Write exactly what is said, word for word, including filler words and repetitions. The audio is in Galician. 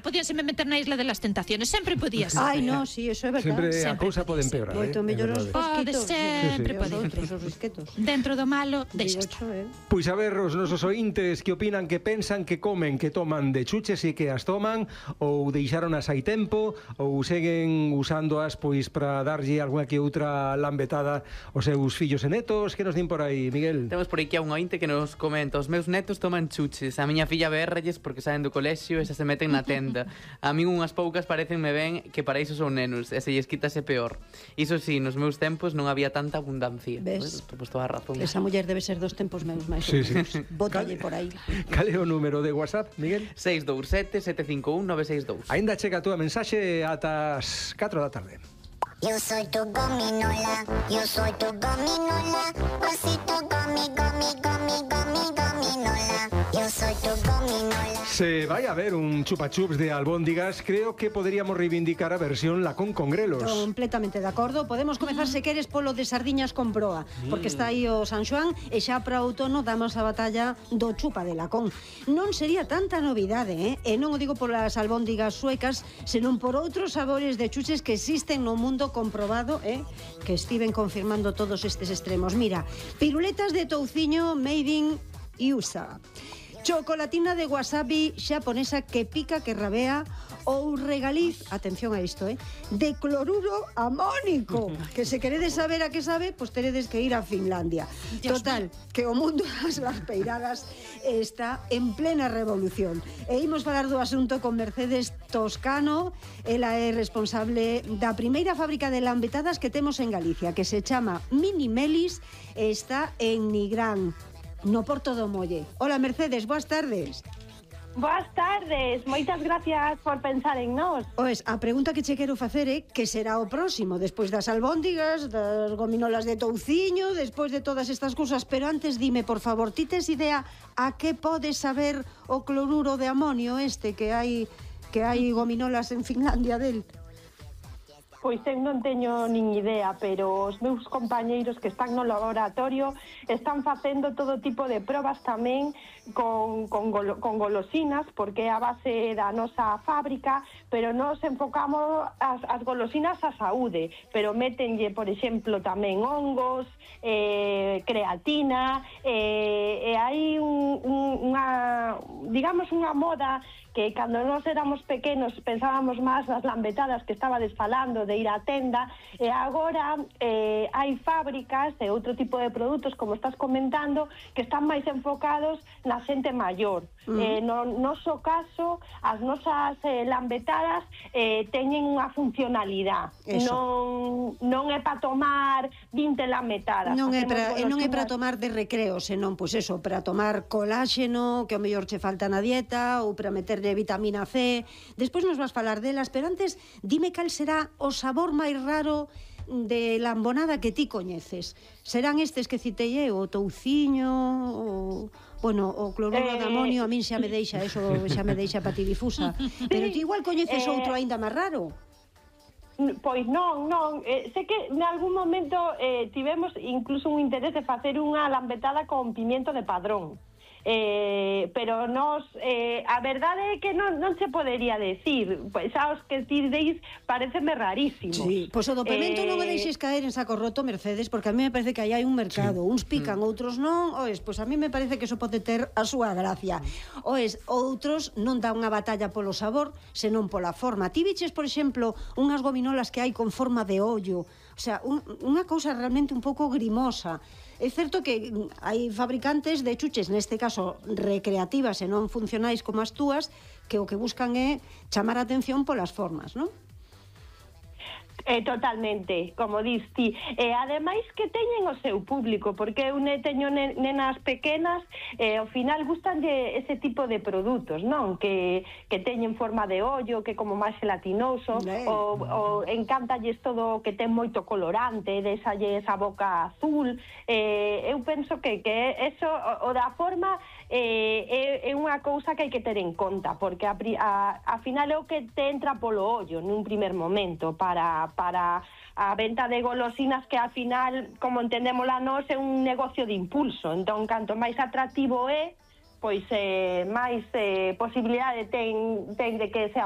podíanse me meter na Isla de las Tentaciones, sempre podía ser. Ai, no, si, sí, eso é verdad. Sempre, sempre a cousa pode empeorar. Moito mellor os Pode fosquitos. sempre, sí, sí. pode. Os outros, os risquetos. Dentro do malo, deixa estar. Eh. Pois a ver, os nosos ointes que opinan, que pensan, que comen, que toman de chuches e que as toman, ou deixaronas hai tempo, ou seguen usándoas pois para darlle algunha que outra lambetada aos seus fillos e netos. Que nos din por aí, Miguel? Temos por aquí a un ointe que nos comenta: os meus netos toman chuches, a miña filla berralles porque saen do colexio e xa se meten na tenda. A min unhas poucas parecenme ben que para iso son nenos, e se lles quitase peor. Iso sí, nos meus tempos non había tanta abundancia. Ves? Pois toda a razón. Esa muller debe ser dos tempos meus máis. Sí, sí. Bótalle por aí. Cal é o número de WhatsApp, Miguel? seis dous sete, sete cinco un, nove seis dous. Ainda chega a túa mensaxe ata as catro da tarde. Yo soy tu gominola, yo soy tu gominola, osito gomi, gomi, gomi, gomi, gominola, yo soy tu gominola. Se vai a ver un chupa-chups de albóndigas, creo que poderíamos reivindicar a versión lacón con grelos. Completamente de acordo. Podemos comezar, se queres, polo de sardiñas con proa, porque está aí o San Xoán e xa para o outono damos a batalla do chupa de lacón. Non sería tanta novidade, eh? E non o digo polas albóndigas suecas, senón por outros sabores de chuches que existen no mundo comprobado, eh? Que estiven confirmando todos estes extremos. Mira, piruletas de touciño made in U S A, chocolatina de wasabi xaponesa que pica, que rabea, ou regaliz, atención a isto, eh, de cloruro amónico, que se queredes saber a que sabe, pois teredes que ir a Finlandia. Dios Total, mío. Que o mundo das peiradas está en plena revolución. E imos falar do asunto con Mercedes Toscano. Ela é responsable da primeira fábrica de lambetadas que temos en Galicia, que se chama Mini Melis, e está en Nigrán, no Porto do Molle. Hola, Mercedes, boas tardes. Boas tardes, moitas gracias por pensar en nós. Oes, a pregunta que che quero facer é que será o próximo, despois das albóndigas, das gominolas de touciño, despois de todas estas cousas, pero antes dime, por favor, ti tes idea a que pode saber o cloruro de amonio este que hai que hai gominolas en Finlandia del? Pois eu non teño nin idea, pero os meus compañeiros que están no laboratorio están facendo todo tipo de probas tamén con, con, golo, con golosinas, porque é a base da nosa fábrica, pero nos enfocamos as, as golosinas á saúde, pero métenlle, por exemplo, tamén hongos, eh, creatina, eh, e hai un, un, unha, digamos, unha moda que cando nós éramos pequenos pensábamos máis nas lambetadas que estabades falando, de ir á tenda, e agora eh, hai fábricas e outro tipo de produtos, como estás comentando, que están máis enfocados na xente maior. Mm. Eh, no noso caso, as nosas eh, lambetadas eh, teñen unha funcionalidade. Non, non é para tomar vinte lambetadas. Non é para non é para tomar de recreo, senón, pois eso, para tomar coláxeno, que ao mellor che falta na dieta, ou para meter de vitamina C. Despois nos vas falar delas, pero antes dime cal será o sabor máis raro de lambonada que ti coñeces. Serán estes que citei eu, o touciño, o, bueno, o cloruro eh... de amonio, a min xa me deixa eso, xa me deixa patidifusa. Pero ti igual coñeces eh... outro aínda máis raro. Pois non, non, eh, sei que en algún momento eh, tivemos incluso un interés de facer unha lambetada con pimiento de Padrón. Eh, pero nos eh, a verdade é que non, non se podería decir, pois xa os que ti deis pareceme rarísimo. Sí, pois o do pimento eh... non o deixes caer en saco roto, Mercedes, porque a mí me parece que aí hai un mercado, sí. Uns pican, mm. outros non, oes, pois a mí me parece que eso pode ter a súa gracia. Oes, outros non dá unha batalla polo sabor, senón pola forma. Ti biches, por exemplo, unhas gominolas que hai con forma de ollo, o sea, un, unha cousa realmente un pouco grimosa. É certo que hai fabricantes de chuches, neste caso recreativas e non funcionais como as túas, que o que buscan é chamar a atención polas formas, non? Eh, totalmente, como dis ti. E ademais que teñen o seu público, porque eu ne teño nenas pequenas e ao final gustanlle ese tipo de produtos, non? Que, que teñen forma de ollo, que como máis gelatinoso, ou, ou encántalles todo o que ten moito colorante, desalle esa boca azul. Eh, eu penso que, que eso, o, o da forma eh, é, é unha cousa que hai que ter en conta, porque a, a, a final é o que te entra polo ollo nun primer momento para para a venta de golosinas, que al final, como entendemos la nós, é un negocio de impulso. Entón, canto máis atractivo é, pois eh, máis eh, posibilidade ten, ten de que sea